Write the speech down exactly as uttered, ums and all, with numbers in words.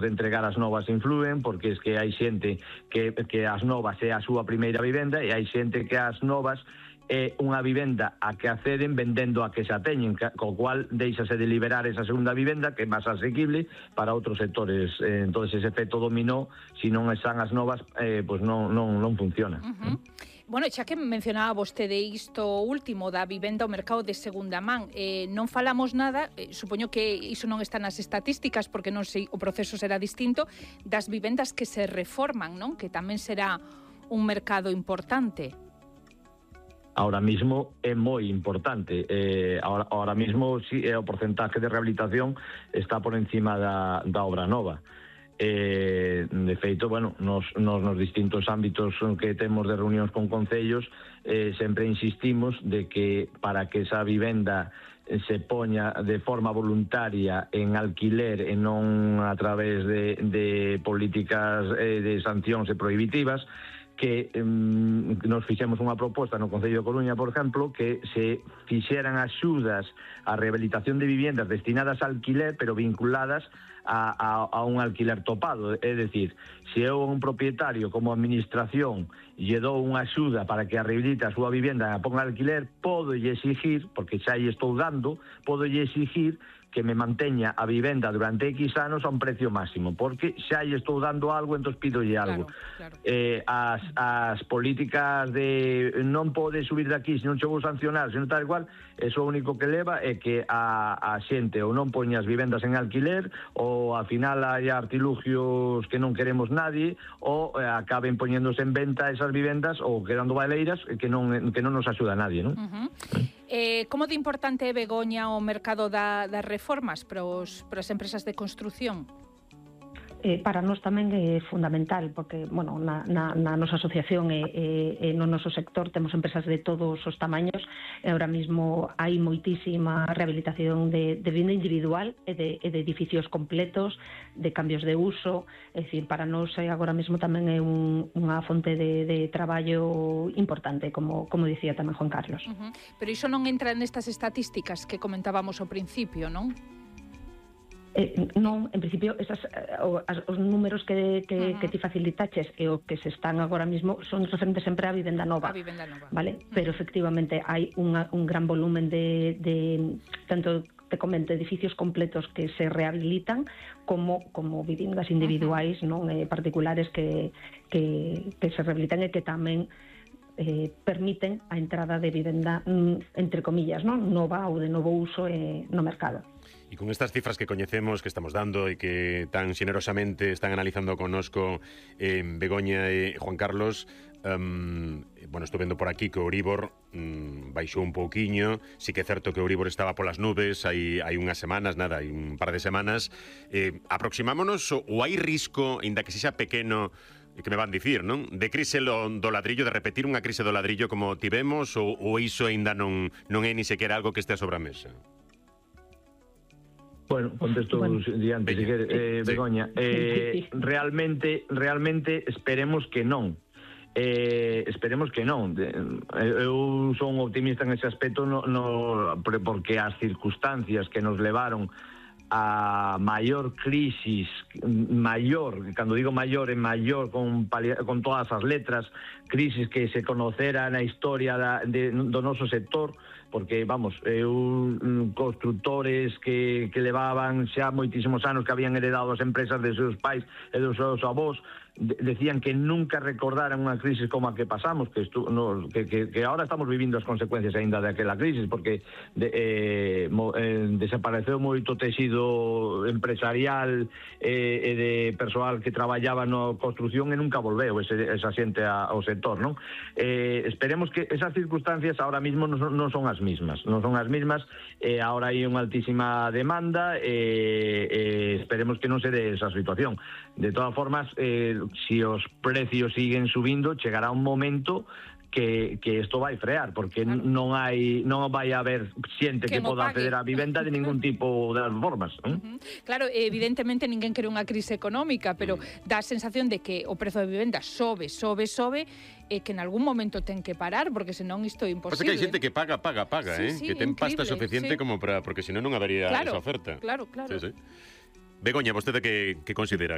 de entregar as novas influen, porque es que hai xente que, que as novas é a súa primeira vivenda e hai xente que as novas é unha vivenda a que acceden vendendo a que xa teñen, co cual deixase de liberar esa segunda vivenda que é máis asequible para outros sectores. Eh, entonces ese efecto dominó, se non están as novas, eh, pues non, non, non funciona. Uh-huh. Bueno, xa que mencionaba vostede isto último da vivenda ao mercado de segunda man, eh, non falamos nada, eh, supoño que iso non está nas estatísticas porque non sei, o proceso será distinto, das vivendas que se reforman, non? Que tamén será un mercado importante. Ahora mismo é moi importante. Eh, ahora, ahora mismo sí, o porcentaje de rehabilitación está por encima da, da obra nova. Eh, de feito, bueno, nos, nos, nos distintos ámbitos que temos de reunións con concellos, eh, sempre insistimos de que para que esa vivenda se poña de forma voluntaria en alquiler e non a través de, de políticas eh, de sancións e prohibitivas, que eh, nos fixemos unha proposta no Concello de Coruña, por exemplo, que se fixeran axudas á rehabilitación de viviendas destinadas a alquiler, pero vinculadas a, a, a un alquiler topado. É dicir, se eu un propietario como administración lle dou unha axuda para que a rehabilite a súa vivenda e a ponga alquiler, podo lle exigir, porque xa lle estou dando, podo lle exigir que me manteña a vivenda durante X anos a un precio máximo, porque xa lle estou dando algo, entón pidolle algo. Claro, claro. Eh, as, as políticas de non pode subir de aquí, se non che vou sancionar, se non tal igual, eso o único que leva é que a, a xente ou non poña as vivendas en alquiler, ou ao final hai artilugios que non queremos nadie, ou eh, acaben poñéndose en venta esas vivendas ou quedando baleiras que non, que non nos axuda a nadie, non? Uh-huh. Eh, como de importante é, Begoña, o mercado da, das reformas para, os, para as empresas de construción? Eh, para nós tamén é fundamental, porque, bueno, na, na, na nosa asociación e, e, e no noso sector temos empresas de todos os tamaños e ahora mismo hai moitísima rehabilitación de, de vivienda individual e de, e de edificios completos, de cambios de uso. É dicir, para nós agora mesmo tamén é un, unha fonte de, de traballo importante, como, como dicía tamén Juan Carlos. Uh-huh. Pero iso non entra nestas estatísticas que comentábamos ao principio, non? Eh, non, en principio esas, as, os números que, que, uh-huh. que ti facilitaches e o que se están agora mismo son referentes sempre á vivenda nova, a vivenda nova. Vale? Uh-huh. Pero efectivamente hai unha, un gran volumen de, de tanto te comento, edificios completos que se rehabilitan como, como viviendas individuais, uh-huh. non eh, particulares que, que, que se rehabilitan e que tamén eh, permiten a entrada de vivenda, entre comillas, non nova ou de novo uso eh, no mercado. E con estas cifras que coñecemos, que estamos dando e que tan xenerosamente están analizando connosco eh, Begoña e Juan Carlos, um, bueno, estou vendo por aquí que o Euribor um, baixou un pouquiño, sí que é certo que o Euribor estaba polas nubes hai, hai unhas semanas, nada, hai un par de semanas. Eh, aproximámonos ou hai risco, ainda que sexa pequeno, que me van dicir, non? De crise do, do ladrillo, de repetir unha crise do ladrillo como tivemos, ou, ou iso ainda non, non é ni sequera algo que este sobre a mesa? Bueno, contesto bueno. diante, si quere, eh, sí. Begoña. Eh, realmente, realmente esperemos que non. Eh, esperemos que non. Eu son optimista en ese aspecto, no, no, porque as circunstancias que nos levaron a maior crisis, maior, cando digo maior, é maior con, con todas as letras, crisis que se conocera na historia da, de, do noso sector, porque, vamos, eu, constructores que, que levaban xa moitísimos anos, que habían heredado as empresas de seus pais e dos seus avós, de, decían que nunca recordaran unha crisis como a que pasamos, que, estu, no, que, que, que ahora estamos vivindo as consecuencias aínda daquela crisis, porque de, eh, mo, eh, desapareceu moito texido empresarial eh, e de persoal que traballaba na construción e nunca volveu ese, esa xente a, ao sector, non? Eh, esperemos que esas circunstancias ahora mismo non son, non son as mismas, non son as mismas, eh, ahora hai unha altísima demanda e eh, eh, esperemos que non se dé esa situación. De todas formas, eh, si os precios siguen subindo, chegará un momento que, que isto vai frear, porque claro. non hai non vai haber xente que, que poda acceder á vivenda de ningún tipo de formas. ¿eh? Uh-huh. Claro, evidentemente ninguén quere unha crise económica, pero dá a sensación de que o prezo de vivenda sobe, sobe, sobe, e que en algún momento ten que parar, porque senón isto é imposible. Pasa que hai xente que paga, paga, paga, sí, eh? sí, que ten increíble, pasta suficiente sí. como para, porque senón non habería claro, esa oferta. Claro, claro. Sí, sí. Begoña, vostede que, que considera?